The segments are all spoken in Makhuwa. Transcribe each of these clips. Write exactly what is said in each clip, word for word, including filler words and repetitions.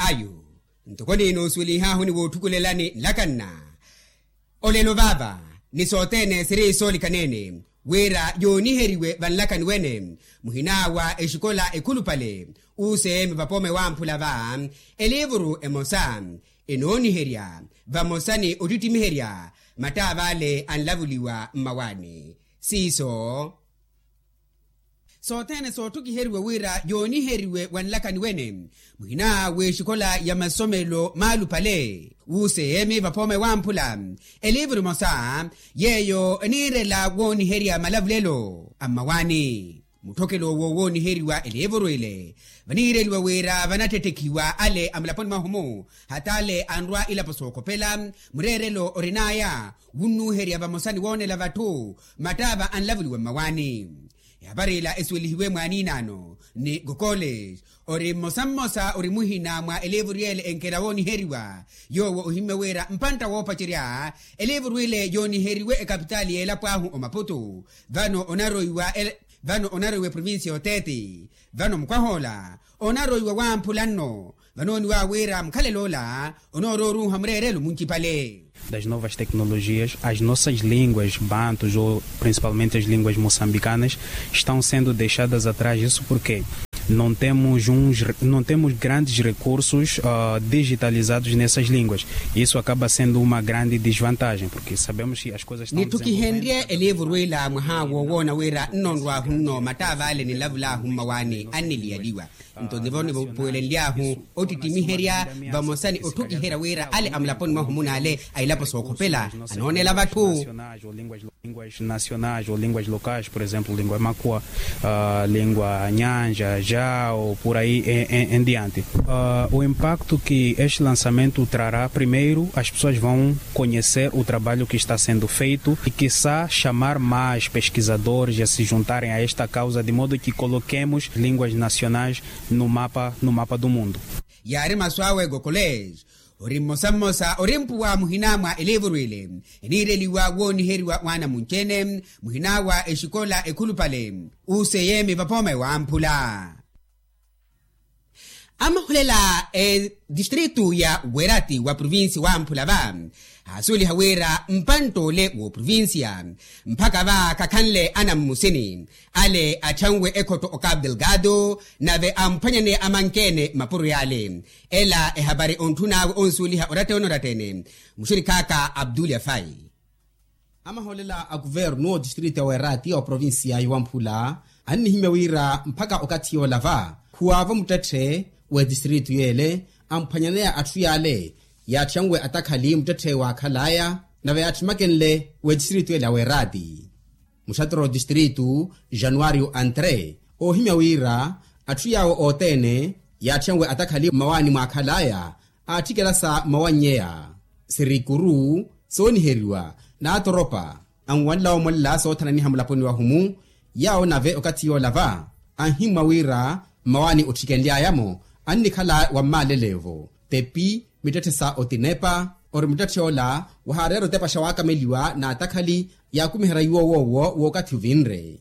Ayo, ntoko niino osuwelihaahu ni wootthukulelani nlakanna. Olelo vaava ni sothene siri soolikanene wira yooniheriwe vanlakani wene, muhina wa exikola ekhulupale useemi vapoome wamphula va, eliivuru emosa enooniherya vamosa ni ottittimiherya mattaavale anlavuliwa mmawaani. Siiso sothene sootthukhiheriwe wira yooniheriwe wanlakani wene, muhina w'exikola ya masomelo maalupale wuuseemi vapoome wamphula, eliivuru emosa yeeyo eniirela wooniherya malavulelo a mmawaani. Mutthokelo owo wooniheriwa eliivuru ile vaniireliwa wira vanattettekhiwa ale a mulaponi mwahu-mu, hata ale anrwa ilapo sookhopela, mureerelo orin'aya wunnuuherya vamosa ni woonela vatthu mattaava anlavuliwa mmawaani. Ehapari ila esuwelihiwe mwaaniinaano ni gokoles, ori mmosa mmosa ori muhina mwa eliivuru yeele enkela wooniheriwa. Yoowo ohimmye wira mpantta woopacerya eliivuru ile yooniheriwe ekapitaali y'elapo ahu omaputu, vano onaroiwa vano onaroiwa eprovincia y'oteeti. Vano mukwah'ola onaroiwa wamphula nno vanooniwa wira mukhalelo ola onoororuuha mureerelo muncipale. Das novas tecnologias, as nossas línguas bantus ou principalmente as línguas moçambicanas estão sendo deixadas atrás. Isso porque não temos uns, não temos grandes recursos digitalizados nessas línguas. Isso acaba sendo uma grande desvantagem porque sabemos que as coisas estão desenvolvendo. Nittukihenrye eliivuru ila mwaha wowoona wira nnonrwahu nno mattaavale ninlavulaahu mmawaani anniliyaliwa. Nto nivo nivupuwelenly'ahu ottittimiherya vamosa ni otthukiherya wira ale a mulaponi mwahu-mu n'ale a ilapo sookhopela anoonela vatthu. Línguas nacionais ou línguas locais por exemplo língua makua, língua nyanja jao por aí em diante. O impacto que este lançamento trará primeiro as pessoas vão conhecer o trabalho que está sendo feito e quiçá chamar mais pesquisadores a se juntarem a esta causa de modo que coloquemos línguas nacionais no mapa no mapa do mundo. Yaari masu awe gokoles ori mmosa mmosa ori mpuwa muhina mwa eliivuru ile eniireliwa wooniheriwa waana munci-ene muhina wa exikola ekhulupale useyeemi vapoome wamphula. Amahulela edistritu ya werati wa provincia wamphula va aasuweliha wira mpantta ole w'oprovincia mpakha va khakhanle anammusini ale atthanwe ekhotto o capu delgado nave amphwanyane amankeene mapuro y'ale. Ela ehapari ontthun'awe onsuweliha oratte-ene oratte-ene muxirikhaaka abdul yafai. Amahoolela a kuvernu otistritu ya werati oprovincia ya wamphula annihimya wira mpakha okathi yoola va khuwaavo muttetthe w'etistritu yeele amphwanyaneya atthu yaale yaatthiyanwe atakhali muttetthe waakhal'aya nave yaatthimakenle w'etistritu yeele ya werati. Muxattoro otistritu januario antre oohimya wira atthu yaawo othene yaatthiyanwe atakhali mmawaani mwaakhal'aya aatthikela sa mmawannyeya sirikuru sooniheriwa n'atoropa anwanla omolela soothananiha mulaponi wahu-mu. Yaawo nave okathi yoola va anhimmwa wira mmawaani otthikenly'aya-mo annikhala wa mmaaleleyo-vo tepi mittetthe sa otinepa ori muttetthe ola wahaareera otepaxa waakameliwa n'atakhali yaakumiherya iwo woowo w'okathi ovinre.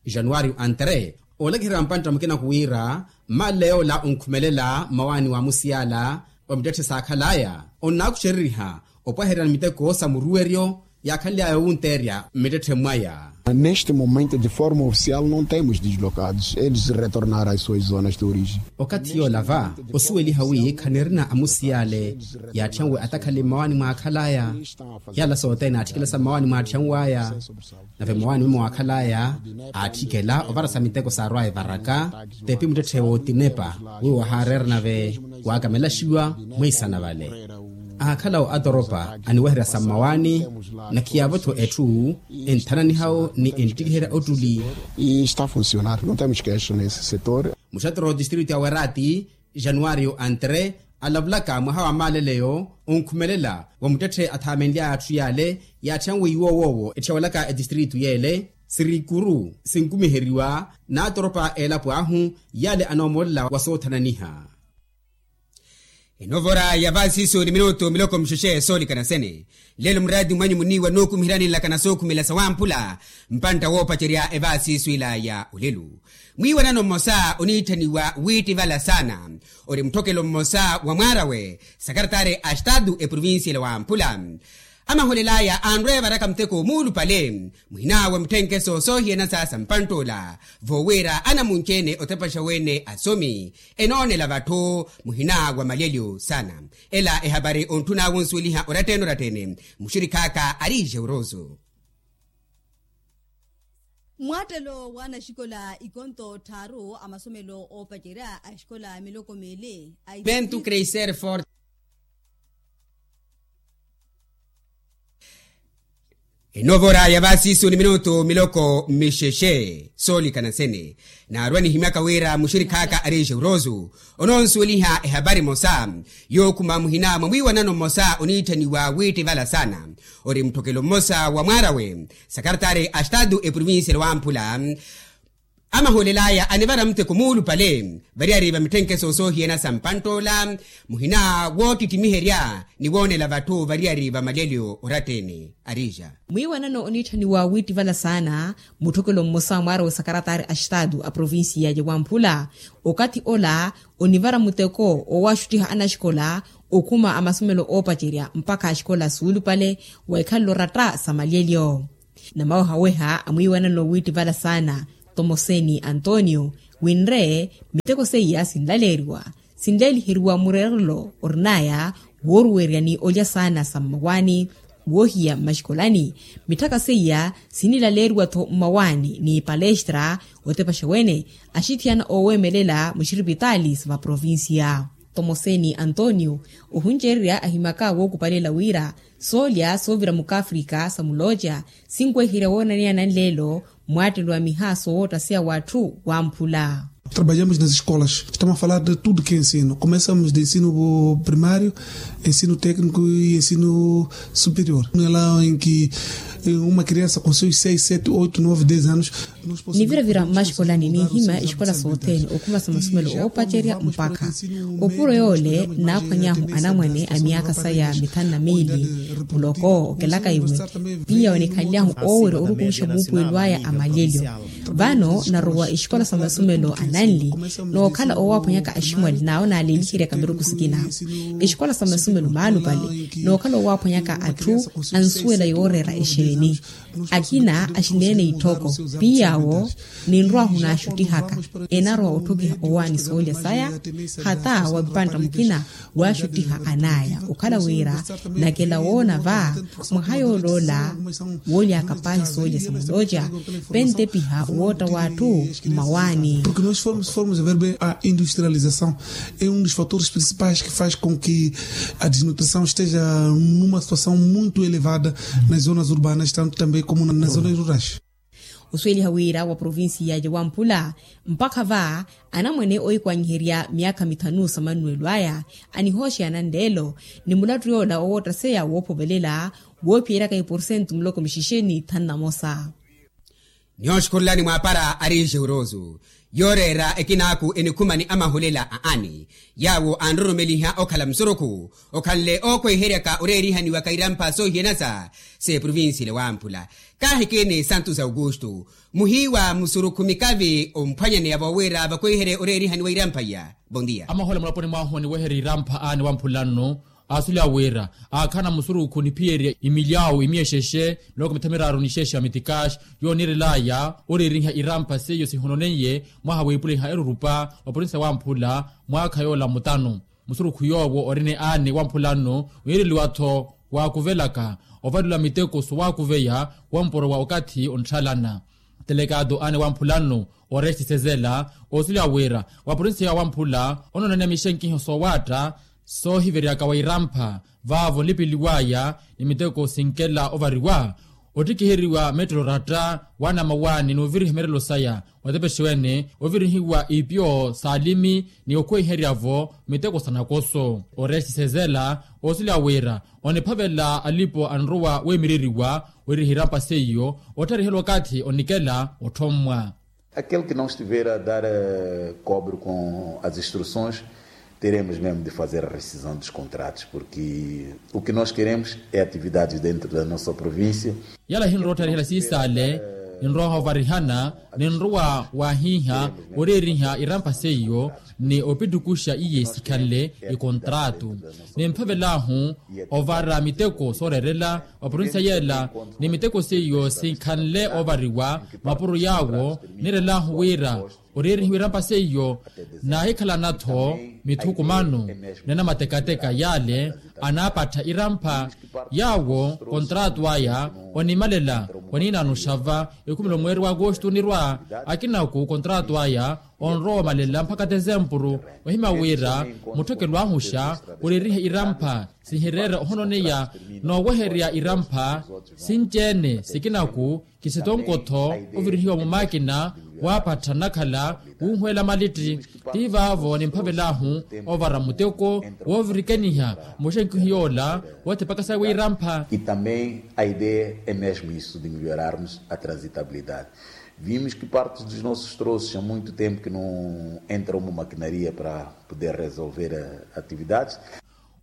Januario antre oolakiherya mpantta mukina khuwiira mmaaleya ola onkhumelela mmawaani wa musiyala wa mittetthe saakhal'aya onnaakuxereriha opwaherya ni miteko sa muruweryo yaakhanly'aya owunteerya mmittetthe mwaya. Neste momento de forma ofisial não temos dislocados eles retornar as suas zonas de origem. Okathi yoola va osuweliha wi khanirina amusiyale yaatthiyanwe atakhali mmawaani mwaakhal'aya. Yala sothene aatthikela sa mmawaani mwaatthyanw'aya nave mmawaani mwe mwaakhal'aya aatthikela ovara sa miteko saarw'aya evaraka tepi muttetthe wootinepa wiwo wahaareera nave waakamelaxiwa mwiisana vale. Aakhalawo atoropa aniweherya sa mmawaani na khiyaavo-tho etthu enthananihawo ni enttikiherya ottuli. Está funcionar não temos queixa nesse setor. Muxattoro otistritu ya werati januario antre alavulaka mwaha wa maaleleyo onkhumelela wa muttetthe athaamenly'aya atthu yaale yaatthiyanwe iwo woowo etthiyawelaka etistritu yeele sirikuru sinkumiheriwa n'atoropa a elapo ahu yaale anoomoolela wa soothananiha. Enovora ya vaasiisu ni minutu miloko mixexe soolikana sene. Lelo muraati mwanyu muniiwa nookumiheryanilakana sookhumela sa wamphula. Mpantta woopacerya evaasiisu ila ya olelu, mwiiwanano mmosa oniitthaniwa wiittivala saana, ori mutthokelo mmosa wa mwaarawe sakaratari a estatu eprovincia ila wamphula. Amaholel'aya anrwe evaraka muteko muulupale muhina wa mitthenkeso soohiyanasa sa mpantt'ola, voowira anamunci-ene otepaxa wene asomi enoonela vatthu muhina wa malyelyo saana. Ela ehapari ontthun'awe onsuweliha orattene orattene. Muxirikhaaka ari jeuroso. Mwaattelo wa anaxikola ikonto tthaaru a masomelo oopacerya a exikola miloko miili a iventu creiser fort. Enovora ya vaasiisu ni minutu miloko mixexe soolikana sene. Naarwa nihimyaka wira muxirikhaaka ari jeuroso onoonsuweliha ehapari emosa yookhuma muhina mwa mwiiwanano mmosa oniitthaniwa wiittivala saana, ori mutthokelo mmosa wa mwaarawe sakaratari a estatu eprovincia ela wamphula. Amaholel'aya anivara muteko muulupale variyari va mitthenkeso soohiyana sa mpantt'ola muhina woottittimiherya ni woonela vatthu variyari va malyelyo orattene. Arija mwiiwanano oniitthaniwa wiittivala saana mutthokelo mmosa wa mwaarawe sakaratari a estatu a provincia ya wamphula. Okathi ola onivara muteko owaaxuttiha anaxikola okhuma a masomelo oopacerya mpakha axikola suulupale wa ikhalelo oratta sa malyelyo. Namawehaweha a mwiiwanano wiittivala saana tomoseni antonio winre miteko seiya sinlaleeriwa sinleeliheriwa mureerelo orin'aya wooruwerya ni olya saana sa mmawaani woohiya mmaxikolani. Mitthaka seiya sinilaleeriwa-tho mmawaani ni palestra otepaxa wene axithiyana oowemelela muxiripitaali sa vaprovincia. Tomoseni antonio ohuncererya ahimaka wookupalela wira soolya soovira mukafrika sa mulooca sinweherya woonaneyana nleelo mwaattelo wa miha sowoottaseya w'atthu wamphula. Trabalhamos nas escolas estamos a falar de tudo que é ensino começamos de ensino primário ensino técnico e ensino superior no ela em que uma criança com seus seis sete oito nove dez anos. Niviravira mmaxikolani ninhimya exikola sothene okhuma sa masomelo oopacerya mpakha opuro yoole naaphwanyahu anamwane a myaakha saya mithanu na miili. Muloko okelaka iwe piya onikhanlyahu oowerya orukumixa muupuwelo aya a malyelyo. Vano narowa exikola sa masomelo ananli nookhala owaaphwanyaka aximwali n'awo naaleeliheryaka miruku sikina exikola sa masomelo maalupale nookhala owaaphwanyaka atthu ansuwela yooreera exeeni. Akina axineene itthoko piiy'awo ninrw'ahu naaxuttihaka enarowa otthokiha owaani soolya saya hata wa mpantta mukina waaxuttiha an'aya okhala wira nakela woona va mwaha yool'ola wooly'aka paahi soolya sa mulooca pentepiha wootta w'atthu mmawaani. Porque nós formos a ver bem a industrialização é um dos fatores principais que faz com que a desnutrição esteja numa situação muito elevada nas zonas urbanas tanto também como nas zonas rurais. Osuweliha wira wa provincia ya wamphula mpakha va anamwane oikwanyiherya myaakha mithanu sa manuwelo aya anihooxeyana nleelo ni mulattu yoola owoottaseya woophovelela woophiyeryaka iporsentu muloko mixexe ni thanu na mosa. Nihooxukhurulani mwaapara ari jeuroso yooreera ekinaaku enikhuma ni amahulela a ani yaawo anroromeliha okhala musurukhu okhanle ookhweiheryaka oreerihaniwaka irampha soohiyanasa s'eprovincia ela wamphula. Kaahikini santos augusto muhiiwa musurukhu mikavi omphwanyaneya voowira vakhweiherye oreerihaniwa irampha iya. Bondia amahola mulaponi mwahu oniweherya irampha ani wamphula nnu. Asulya wira aakhana musurukhu niphiyerya imilyawu imiyexexe miloko mitha miraaru ni xexe ya mitikaxi yooniirelaya oreeriha irampha seiyo sihononeiye mwaha wiipuliha erurupa wa porinsa wamphula mwaakha yoola mutanu. Musurukhu yoowo orine aani wamphula nnu wiireliwa-tho waakuvelaka ovalelwa miteko sowaakuveya wampuro wa okathi ontthalana. Telekaato aani wamphula nnu oresti sezela oosulya wira wa porinsa ya wamphula onoonaniya mixenkiho soowaatta soohiveryaka wa irampha vaavo nlipeliw'aya ni miteko sinkela ovariwa ottikiheriwa mettelo oratta waana mawaani n'uviriha mirelo saya watepexiwene ovirihiwa ipiyo s'alimi ni okhweiherya-vo miteko sa nakoso. Oresti sezela oosulya wira oniphavela alipo anrowa weemireriwa wiriha irampha seiyo ottharihelwa okathi onikela otthommwa. Aquele que não estiver a dar cobre com as instruções Teremos mesmo de fazer a rescisão dos contratos porque o que nós queremos é atividades dentro da nossa província. Yala hinrowa ottarihela siisale, ninrowa ovarihana, ninrowa wahiiha oreeriha irampa seiyo ni opittukuxa iye sikhanle ikontratu. Nimphavelaahu ovara miteko sooreerela oprovincia yela, ni miteko seiyo sikhanle ovariwa mapuro yaawo. Niirelaahu wira oreerihiwa irampa seiyo, naahikhalana-tho mithukumano ni anamatekateka yale anaapattha irampa. Yaawo kontratu aya onimalela, oniinaana oxava ekhumelo mweeri wa agosto onirwa. Akinaku kontratu aya onrowa omalela mpakha tesempuru. Ohimya wira mutthekelo ahu xa oreeriha irampa sihireera ohononeya noowehererya irampa sinci-ene sikinaku. Kisitonkotho ovirihiwa mumaakina waapattha nnakhala wunhweela malitti. Ti vaavo nimphavelaahu ovara muteko woovirikeniha muxenkihi yoola woothipaka sawe irampha. E também a ideia é mesmo isso de melhorarmos a transitabilidade. Vimos que parte dos nossos troços há muito tempo que não entra uma maquinaria para poder resolver atividades.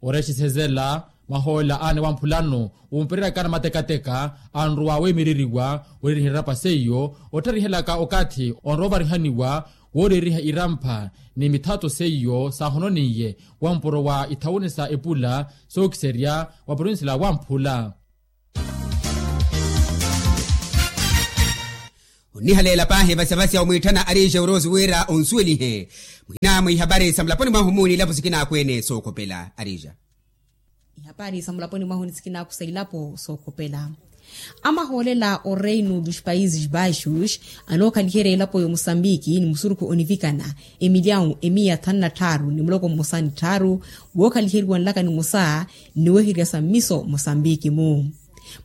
Oreexisezela mahoolela aana wamphulano wumpereraka anamatekateka anrowa weemereriwa oreeriha irampa seiyo, ottharihelaka okathi onrowa ovarihaniwa wooreeriha irampha ni mithato seiyo saahononiye wampuro wa ithawuni sa epula sookiserya wa provincia la wamphula. Onnihaleela paahi vasavasi omwiitthana arija oroosi wira onsuwelihe muhina mwa ihapari sa mulaponi mwahu muuni ilapo sikinaaku ene sookhopela arija. Ihapari sa mulaponi mwahu ni sikinaaku sa ilapo sookhopela. Amahoolela oreino dos países baixos anookhaliherya elapo ya omusambiki ni musurukhu onivikana emilyawu emiya thanu na tthaaru ni muloko mmosa ni tthaaru wookhaliheriwa nlaka nimosa nniwehererya sa mmiso mosambiki-mu.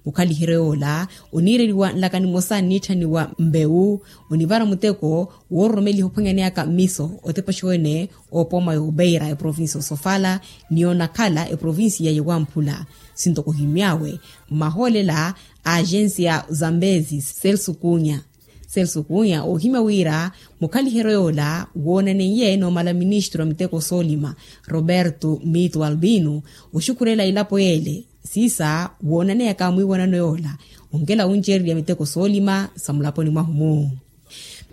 Mukhaliheryo yoola oniireriwa nlaka nimosa nniitthaniwa mbewu onivara muteko woororomeliha ophwanyaneyaka mmiso otepa oxowene oopoma ya obeira eprovincia osofala ni onakhala eprovincia ya wamphula. Sintoko ohimy'awe mmahoolela a agencia zambezi celso kunya celso kunya oohimya wira mukhaliheryo yoola woonaneiye n'omala ministro a miteko soolima roberto mito albino oxukhurela elapo yeele siisa woonaneyaka mwiiwanano yoola onkela wuncererya miteko soolima sa mulaponi mwahu-mu.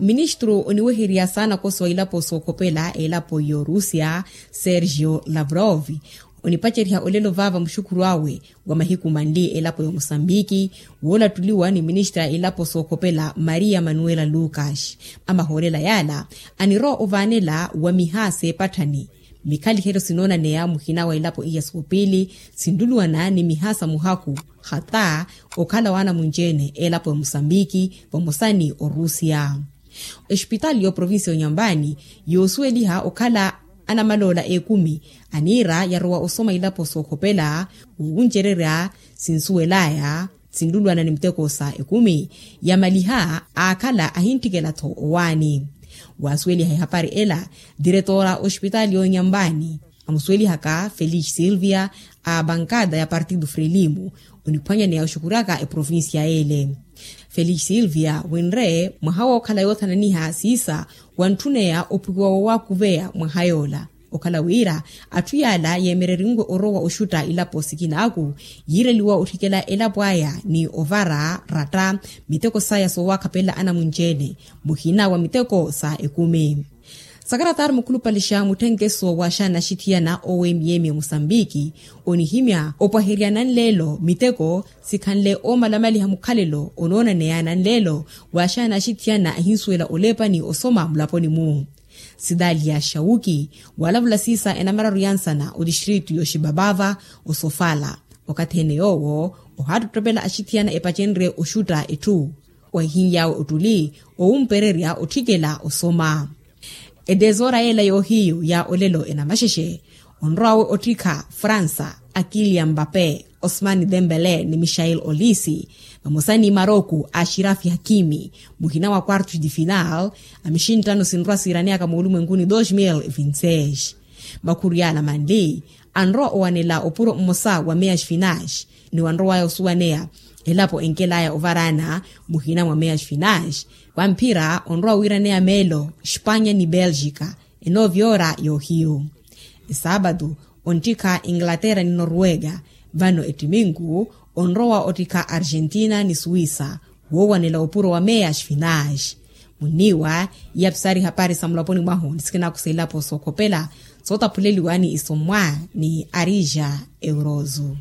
Ministru oniwehererya saana koso a ilapo sookhopela elapo y'orusia sergio lavrov onipaceriha olelo vaava muxukhuru awe wa mahiku manli elapo ya omusambiki woolattuliwa ni ministra a ilapo sookhopela maria manuela lucas. Amahoolela yaala anirowa ovaanela wa miha seepatthani mikhaliheryo sinoonaneya muhina wa elapo iya soopili sinluluwana ni miha sa muhaku hata okhala waana munci-ene elapo ya omusambiki vamosa ni orusia. Exipitaali y'oprovincia y'onyambani yoosuweliha okhala anamaloola ekumi aniira yarowa osoma ilapo sookhopela wowuncererya sinsuwel'aya sinlulwana ni miteko sa ekumi yamaliha aakhala ahintthikela-tho owaani. Waasuweliha ehapari ela diretora oxipitaali y'onyambani amusuwelihaka felix silvia a bankada ya partido frelimo oniphwanyaneya oxukuryaka eprovincia y'ele. Felix silvia winre mwaha wookhala yoothananiha siisa wantthuneya opwikiwa wowaakuveya mwaha yoola okhala wira atthu yaala yeemererinwe orowa oxutta ilapo sikinaaku yiireliwa otthikela elapo aya ni ovara ratta miteko saya soowakhapelela anamunci-ene muhina wa miteko sa ekumi. Sakaratari mukhulupalixa mutthenkeso wa axaana axithiyana owemiyemi omusambiki onihimya opwaherya nanleelo miteko sikhanle oomalamaliha mukhalelo onoonaneya nanleelo wa axaana axithiyana ahinsuwela oleepani osoma mulaponi-mu. Sidaliya xawuki walavula siisa enamararu ya nsana otistritu y'oxibabava osofala okathi-ene yoowo ohaattottopela axithiyana epacenrye oxutta etthu wahihiny'awe ottuli owumpererya otthikela osoma. Etesora yeela yoohiyu ya olelo enamaxexe onrowawe ottikha fransa a kilian mbape osman dembele ni michael olisi vamosa ni maroku a shirafi hakimi muhina wa quartos de final a mixinttano sinrowa siiraneyaka moolumwenkuni dos mil vinti seis. Makhuru yaala manli anrowa owanela opuro mmosa wa meas finash ni wanrowaya osuwaneya elapo enkelaya ovaraana muhina mwa meas finash wamphira onrowa wiiraneya meelo espanya ni belgica enoovyora yoohiyu. Esaabatu onttikha inglaterra ni norwega. Vano ettiminku onrowa ottikha argentina ni suwisa. Woowanela opuro wa meya sfinage. Munniiwa iya pisari hapari sa mulaponi mwahu ni sikinaku sa ilapo sookhopela sootaphuleliwa ni isommwa ni arija eurozu.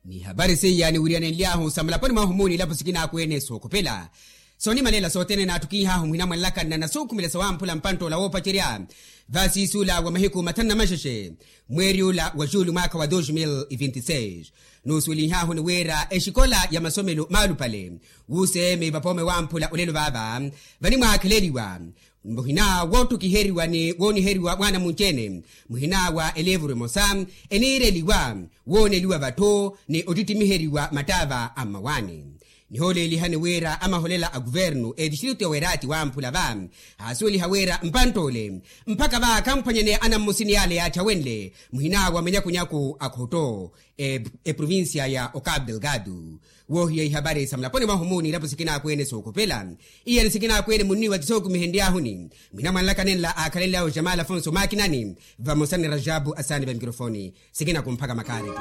Ni hapari seiya niwiriyanenly'ahu sa mulaponi mwahu muuni ilapo sikinaakwene sookhopela. Soonimalela sothene naattukiih'ahu muhinamwanlaka nnanasuukhumela sawamphula mpantt'ola woopacerya vasiisuula wa mahiku mathanu na maxexe mweeri ula wa juulu mwaakha wa dos mil vinti seis. Nuusuwelinh'ahu ni wira exikola ya masomelo maalupale wuuseeme vapoome wamphula olelo vaava vanimwaakheleliwa muhina woottokiheriwa ni wooniheriwa mwaana munci-ene muhina wa elevuru emosa eniireliwa wooneliwa vatthu ni ottittimiheryiwa mattaava a mmawaani. Nihooleelihani wira amaholela a kuvernu etistritu ya weraati wamphula va aasuweliha wira mpantt'ole mpakha va khamphwanyaneya anammusini yaale yaatthawenle muhina wa manyakunyaku a khotto eprovincia ya ocabo delgado. Woohiya ihapari sa mulaponi mwahu muuni ilapo sikinaakwene sookhopela iyani sikinaakwene munniiwa ti sookumihenry'ahuni mwinamwanlaka nenla aakhalenly'awe jamal afonso maakinani vamosa ni rajabu asaani va mikirofoni. Sikinakumphaka makaareti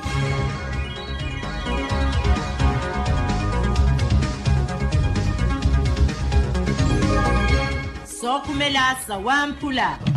sookhumela sawamphula.